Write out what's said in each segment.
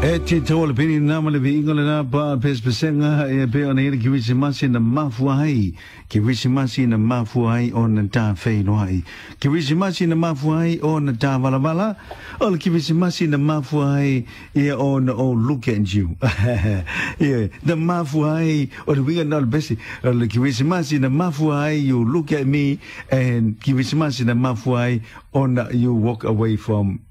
E te tau o le peni nā ma le viiga lena pa pesepesega e pei ona i ai le Kerisimasi na mafua ai, Kerisimasi na mafua ai ona ta feiloai, Kerisimasi na mafua ai ona ta valavala, o le Kerisimasi na mafua ai ia ona oh look at you. Ia, na mafua ai, o le uiga lena o le pese, o le Kerisimasi na mafua ai you look at me and Kerisimasi na mafua ai ona you walk away from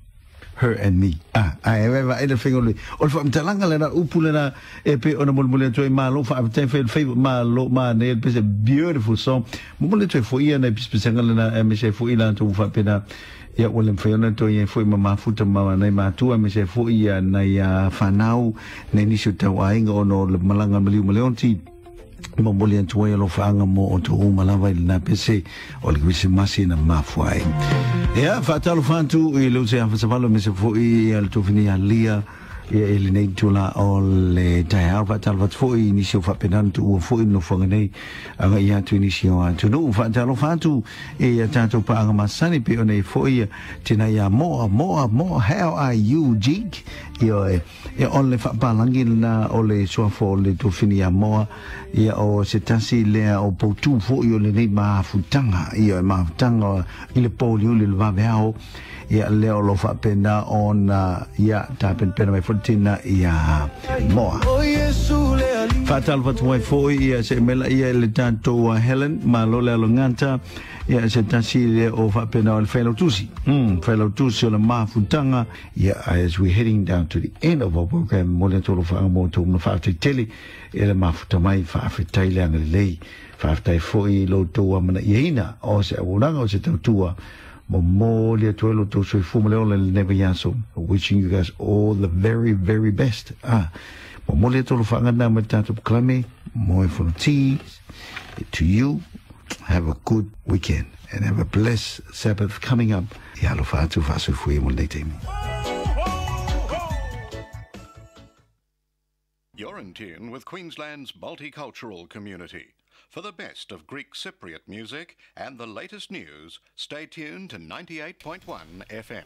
her and me. Ah, ae e vae le faiga o le, o le faamatalaga lena, upu lena e pei ona molimoli atu ai, malo faafetai fai le faiva, malo manaia le pese, beautiful song. Momoli atu ai foi ia nai pisapisiaga lena aemaise ai foi i latou ua faapena, ia ua le mafai ona toe i ai foi ma mafuta ma nai matua aemaise ai foi ia nai fanau, nai nisi o tauaiga ona o le malaga maliu ma Leonti. Momoli atu ai alofaaga mo outou uma lava i lena pese o le Kerisimasi na mafua ai. Ia, faatalofa atu i le uso ia Fasavalo aemaise foi ia le tofini ia Lia ia i lenei itula o le taeao. Faatalofa atu foi i nisi o faapena ona tuua foi le nofoaga nei agai atu i nisi o atunuu. Faatalofa atu i a tatou paaga masani pei ona i foi ia tina ia Moa, Moa, Moa, how are you, Jig? Ioe. Ia, o le faapalagi lena o le suafa o le tofini ia Moa, ia o se tasi lea o poutū foi o lenei mafutaga, ia e mafutaga i le pōliuli o le vaveao, ia lea o lo faapena ona, ia tapenapena mai foi le tina ia Moa. Faatalofa atu ai foi ia se mela ia i le tatou Helen, malo le alogata, ia se tasi lea o faapena o le failautusi, failautusi o le mafutaga, Yeah, as we're heading down to the end of our program, momoli atu alofaaga mo outou ma faafetai tele i le mafuta mai, faafetai le agalelei, faafetai foi i lo outou amanaiaina o se auaunaga o se tautua, momoli atu ai lo outou soifua ma le ola i lenei vaiaso, wishing you guys all the very, very best. Ah, momoli atu alofaaga na mai le tatou pkalame, moe fono to you, have a good weekend and have a blessed Sabbath coming up. Ia alofa atu faasoifua ia mo lenei taimi. You're in tune with Queensland's multicultural community. For the best of Greek Cypriot music and the latest news, stay tuned to 98.1 FM.